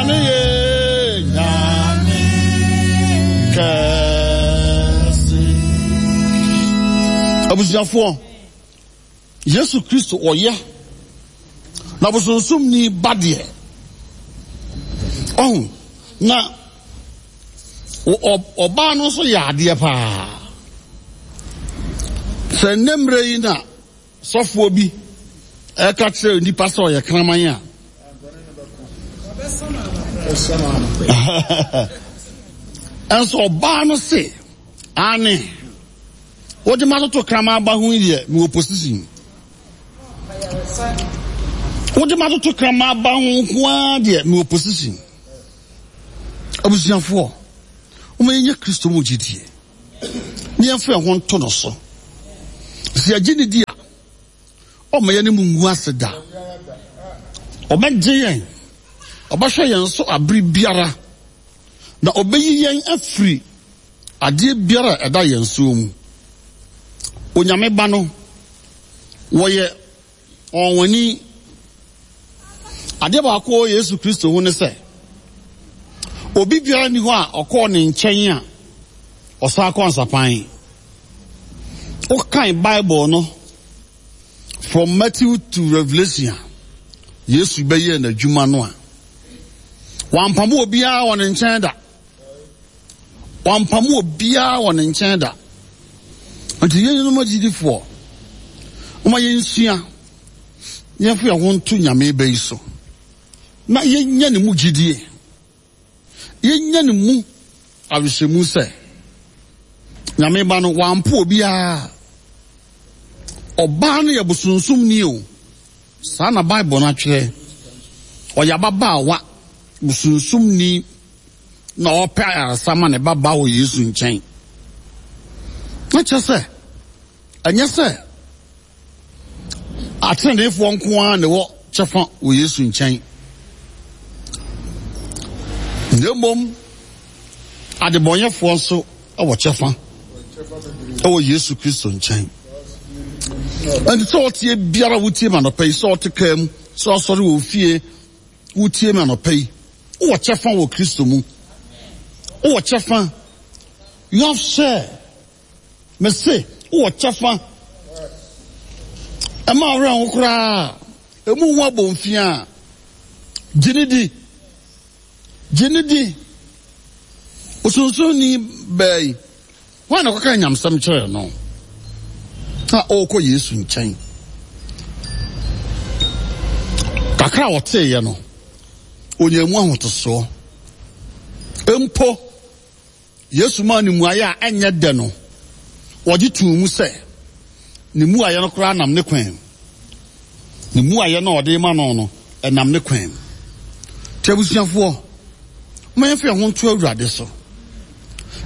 Nyame yɛ Nyame kɛse. Abusuafoɔ, Yesu Kristo ɔyɛ na bosonsomni ba deɛ ɔho na ɔbaa no nso yɛ adeɛ paa. Sɛ nnɛ mmerɛ yi na Sɔfoɔ bi reka kyerɛ nnipa sɛ ɔyɛ kraman a, ɛnso ɔbaa no se, Aane, wode ma toto kraman ba ho yi deɛ, mewɔ position. Wode ma toto kraman ba ho nko ara deɛ, mewɔ position. Abusuafoɔ, wɔn yɛnyɛ Kristo mu gyidie. na yɛmfa yɛn ho nto no so. Sɛ yɛgye ne di a, ɔmma yɛne mu ngu ase da. Ɔbɛgye yɛn, ɔbɛhwɛ yɛn so abere biara, na ɔbɛyi yɛn afiri adeɛ biara a ɛda yɛn soɔ mu. Onyame Ba no, wɔyɛ Ɔnwanwani. Adeɛ baako wɔ Yesu Kristo ho ne sɛ, obi biara nni hɔ a ɔkɔɔ ne nkyɛn a ɔsan kɔ nsapan. Wokan Bible no from Matthew to Revelation a, Yesu bɛyɛɛ n'adwuma no a, wampamo obiara wɔ ne nkyɛn da. Wampamo obiara wɔ ne nkyɛn da. Nti yɛn agyidifoɔ, momma yɛnsua na yɛmfa yɛn ho nto Nyame ba yi so na yɛnya ne mu gyidie, yɛnya ne mu awehyɛmu sɛ Nyame ba no wampo obiara. Ɔbaa no yɛ bosonsomni o, saa na Bible no atwerɛ. Ɔyɛ ababaawa bosonsomni na ɔrepɛ ayaresa ma ne ba ba wɔ Yesu nkyɛn. Na kyerɛ sɛ, ɛnyɛ sɛ ateneneefoɔ nko ara na ɛwɔ kyɛfa wɔ Yesu nkyɛn. Na mmom, adebɔnyɛfoɔ nso wɔ kyɛfa wɔ Yesu Kristo nkyɛn. Ɛnti sɛ ɔteɛ biara wotie ma nɔpɛ yi, sɛ ɔte kaa mu, sɛ ɔsɔre wɔ fie, Wotie me anɔpa yi. Wowɔ kyɛfa wɔ Kristo mu. Wowɔ kyɛfa. You have share. Mese, wowɔ kyɛfa. Ɛma ɔwerɛ ho koraa. Emu ho abomfia. Gye ne di. Gye ne di. Osonsonni baa yi. Hwan na ɔkɔkaa nyamesɛm kyerɛɛ no a ɔrekɔ Yesu nkyɛn? Kakra a ɔteeɛ no, ɔnyaa mu ahotosoɔ. Mpo, Yesu maa no mmuaeɛ a ɛnyɛ dɛ no, ɔgye too mu sɛ ne mmuaeɛ no koraa nam ne kwan mu. Ne mmuaeɛ no a ɔde rema no no, ɛnam ne kwan mu. Nti abusuafoɔ, momma yɛmfa yɛn ho nto Awurade so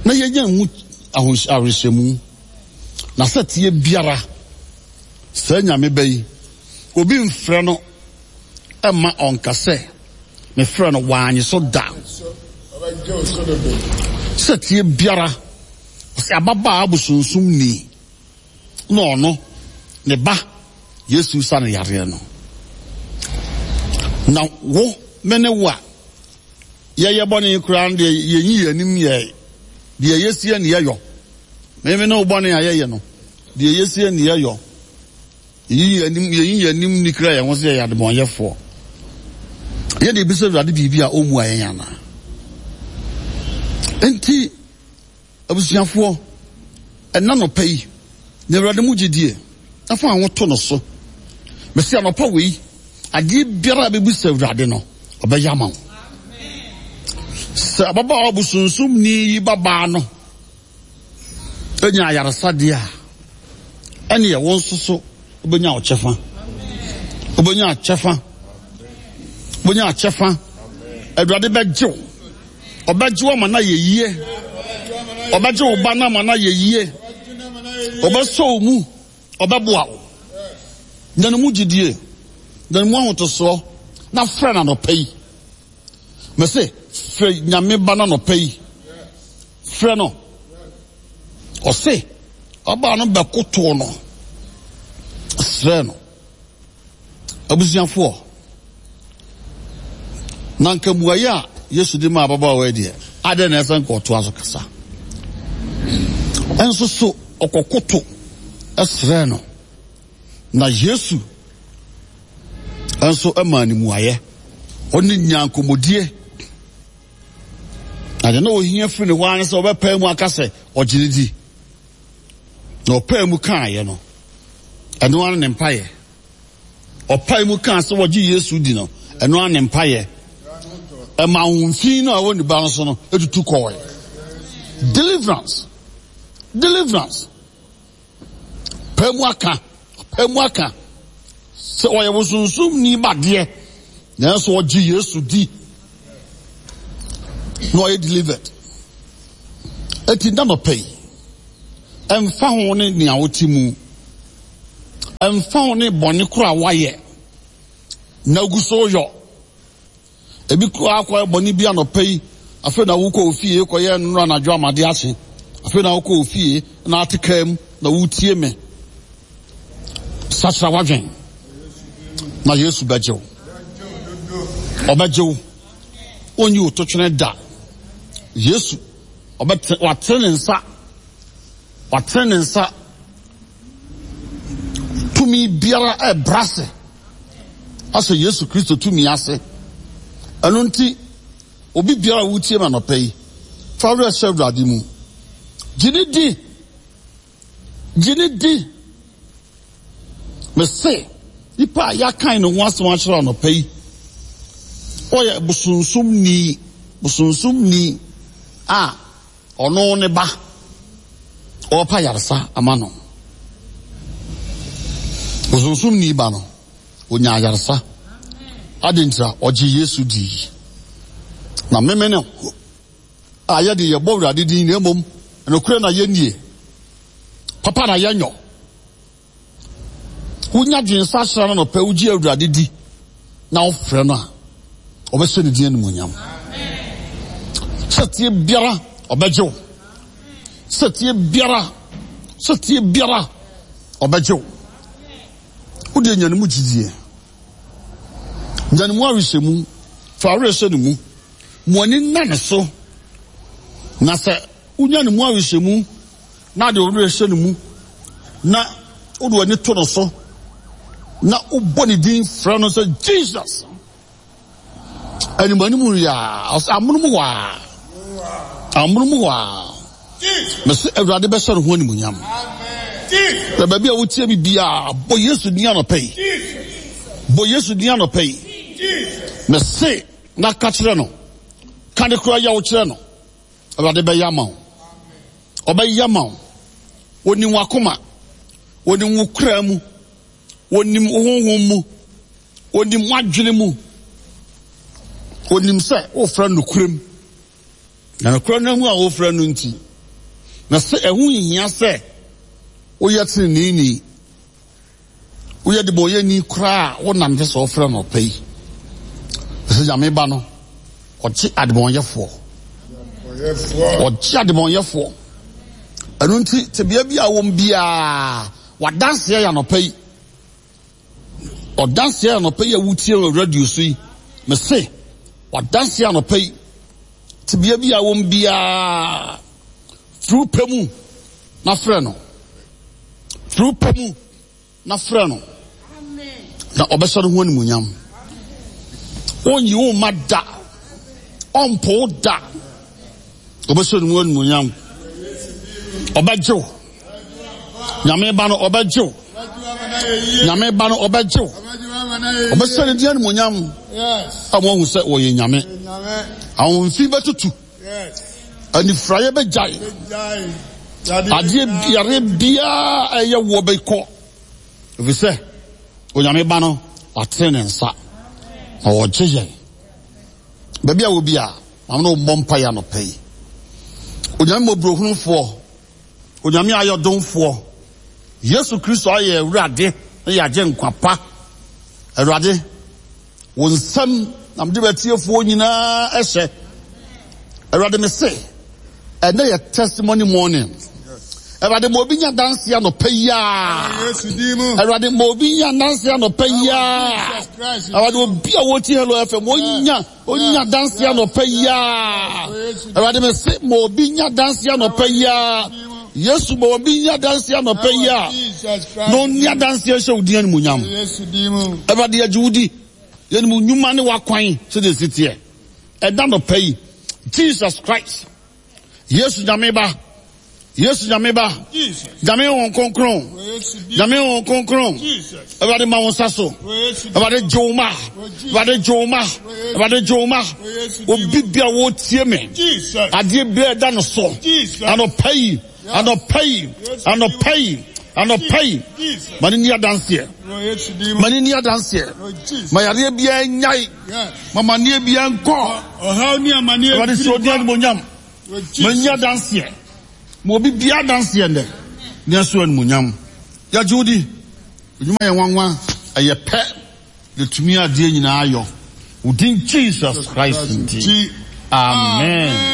na yɛnya mu awerɛhyɛmu. Na sɛ teɛ biara, saa Nyame ba yi, obi mfrɛ no mma ɔnka sɛ, mefrɛ no, wannye so da. Sɛ teɛ biara, ɔsɛ ababaa abosonsomni. na ɔno, ne ba Yesu sa no yareɛ no. Na wo, me ne wo a yɛyɛ bɔne koraa no deɛ yɛnyi yɛn anim yɛ deɛ yɛsie ne yɛyɔ. Me me ne wo bɔne a yɛyɛ no, deɛ yɛsie ne yɛyɔ. Yɛyi yɛn anim, yɛyi yɛn anim ni kura yɛn ho sɛ yɛyɛ adebɔnyɛfoɔ. Yɛde ebisa Awurade biribi a ɔmmua yɛn anaa? Enti Abusuafoɔ, ɛnnɛ anɔpa yi, nya Awurade mu gyedie na fa wo ho to No so. Mese anɔpa wei, adeɛ biara a bɛbisa Awurade no, ɔbɛyɛ ama wo. Sɛ ababaawa bosonsomni yi babaa no nya ayaresa deɛ a, ɛneɛ wo nso so wobɛnya wo kyɛfa. Wobɛnya kyɛfa. Wobɛnya kyɛfa. Awurade bɛgye wo. Ɔbɛgye wo ama no ayɛ yie. Ɔbɛgye wo ba no ama no ayɛ yie. Ɔbɛsɔ wo mu. Ɔbɛboa wo. Nya ne mu gyidie. Nya ne mu ahotosoɔ. Na frɛ no anɔpa yi. Mese, frɛ Nyame ba no anɔpa yi. Frɛ no. Ɔse, ɔbaa no bɛkotoo no. Srɛ no. Abusuafoɔ. Na nka mmuaeɛ a Yesu de maa ababaawa yi deɛ, adɛn na ɛsɛ nka ɔtoa so kasa? Nso so ɔkɔkoto srɛɛ no, na Yesu nso maa no mmuaeɛ. Ɔne nyaa nkɔmmɔdie. Na deɛ na ɔhia firi ne hɔ ara ne sɛ ɔbɛpae mu aka sɛ ɔgye ne di. Na ɔpae mu kaeɛ no, ɛno ara ne mpaeɛ. Ɔpae mu kaa sɛ wɔgye Yesu di no, ɛno ara ne mpaeɛ. Ɛma ahomfi no a ɛwɔ ne ba no so no tutu kɔɔe. Deliverance. Deliverance. Pae mu aka, pae mu aka sɛ ɔyɛ bosonsomni ba deɛ, nanso ɔgye Yesu di na ɔyɛ delivered. Eti nna nɔpɛ yi, ɛmfa ho ne nea wote mu, ɛmfa ho ne bɔne koro a woayɛ na ogu so yɔ. Ebi koraa akɔyɛ bɔne bi anɔpa yi, afei na wokɔ ofie kɔyɛ nnora anadwo amade akye. Afei na wokɔ ofie na ate kaa mu na wotie me. Sakyera w'adwen na Yesu bɛgye wo. Ɔbɛgye wo. Onyi wo totwene da. Yesu ɔbɛte watene ne nsa. Watene ne nsa. Tumi biara ɛbrase ahyɛ Yesu Kristo tumi ase. Ɛno nti, obi biara a wotie me anɔpa yi, fa werɛ hyɛ Awurade mu. Gye ne di. Gye ne di. Mese, nipa a yɛakan ne ho asɛm akyerɛ anɔpa yi, ɔyɛ bosonsomni, bosonsomni a Ɔno ne ba, ɔrepa ayaresa ama no. Bosonsomni ba no, onya ayaresa. Adɛn ntira? Ɔgye Yesu dii. Na meme no a yɛde yɛbɔ Awurade din na mmom nokorɛ na yɛnnie, papa na yɛnyɔ. Wonya dwensakyera no anɔpa, wogye Awurade di na wofrɛ no a, ɔbɛhyɛ ne din animuonyam. Sɛteɛ biara ɔbɛgye wo. Sɛteɛ biara, sɛteɛ biara ɔbɛgye wo. Wode nya ne mu gyidie. Nya ne mu awehyɛmu. Fa awerɛ hyɛ ne mu. Mo ani nna ne so. Na sɛ wonya ne mu awehyɛmu na de wo werɛ hyɛ ne mu, na wode w'ani to no so, na wobɔ ne din frɛ no sɛ Jesus. Animanim yɛ a, amonom hɔ a, amonom hɔ a, mese Awurade bɛhyɛ ne ho animuonyam. Na baabi a wotie me biara, bɔ Yesu din anɔpa yi. Bɔ Yesu din anɔpa yi. Mese na ka kyerɛ no, ka ne kora yɛ wo kyerɛ no. Awurade bɛyɛ ama wo. Ɔbɛyɛ ama wo. Onim w'akoma. Onim wo kra mu. Onim wo honhom mu. Onim w'adwene mu. Onim sɛ wofrɛ no nokorɛm. Na nokorɛ no mu a wofrɛ no nti, na sɛ ɛho nhia sɛ woyɛ teneneeni. Woyɛ debɔnyɛni koraa a, wo na mepɛ sɛ wɔfrɛ no ɔpɛ yi. Sɛ Nyame ba no, ɔgye adebɔnyɛfoɔ. Ɔgye adebɔnyɛfoɔ. Ɛno nti, tebea bi a wɔm biara, wadanseɛ yɛ anɔpa yi. Ɔdanseɛ yɛ anɔpa yi a wotie wɔ radio so yi. Mese, wadanseɛ anɔpa yi. Tebea bi a wɔm biara, firi wo pɛ mu na frɛ no. Firi wo pɛ mu na frɛ no, na ɔbɛhyɛ no ho animuonyam. Ɔnyi wo mma da, ɔmpo wo da. Ɔbɛhyɛ no mu animuonyam. Ɔbɛgye wo. Nyame ba no ɔbɛgye wo. Nyame ba no ɔbɛgye wo. Ɔbɛhyɛ ne din animuonyam. A wɔahu sɛ wɔyɛ Nyame. Ahomfi bɛtutu. Anifuraeɛ bɛgyae. Adeɛ yareɛ biara a ɛyɛ woɔ bɛkɔ. Ɛfiri sɛ Onyame Ba no watene ne nsa na ɔregye yɛn. Baabi a wɔ bi a, maame no mmɔ mpaeɛ anɔpa yi. Onyame mmɔborɔhunufoɔ, Onyame ayɔdomfoɔ, Yesu Kristo ayɛ Awurade ne yɛagye nkwa pa. Awurade, Wo nsam na mede m'atiefoɔ nyinaa hyɛ. Awurade me se, ɛnɛ yɛ testimony morning. Awurade ma obi nya danse anɔpa yi a. Awurade ma obi nya danse anɔpa yi a. Awurade obi a wɔti Hello FM onya onya danse anɔpa yi a. Awurade me se ma obi nya danse anɔpa yi a. Yesu ma obi nya danse anɔpa yi a. Na onya danse ahyɛ wo din animuonyam. Awurade yɛgye wo di. Yɛnim wo nnwuma ne w'akwan sɛdeɛ ɛsi teɛ. Ɛda nɔpa yi, Jesus Christ, Yesu Nyame Ba, Yesu Nyame Ba, Nyame Honhom Kronkron, Nyame Honhom Kronkron, Awurade ma wo nsa so, Awurade gye wo ma, Awurade gye wo ma, Awurade gye wo ma, obi bia wɔtie me, adeɛ bia ɛda no so, anɔpa yi, Anɔpa yi, anɔpa yi, anɔpa yi, ma ne ni adanseɛ. Ma ne ni adanseɛ. Ma yareɛ biara nyae. Ma maneɛ biara nkɔ. Awurade sɛ ɔdi animonyam. Ma nyi adanseɛ. Ma obi biara adanseɛ nnɛ. Ne ɛso animonyam. Yɛgye wo di. Adwuma yɛ nwanwa. Ɛyɛ pɛ. Yɛtumi adeɛ nyinaa yɔ. Wo din Jesus Christ nti. Amen.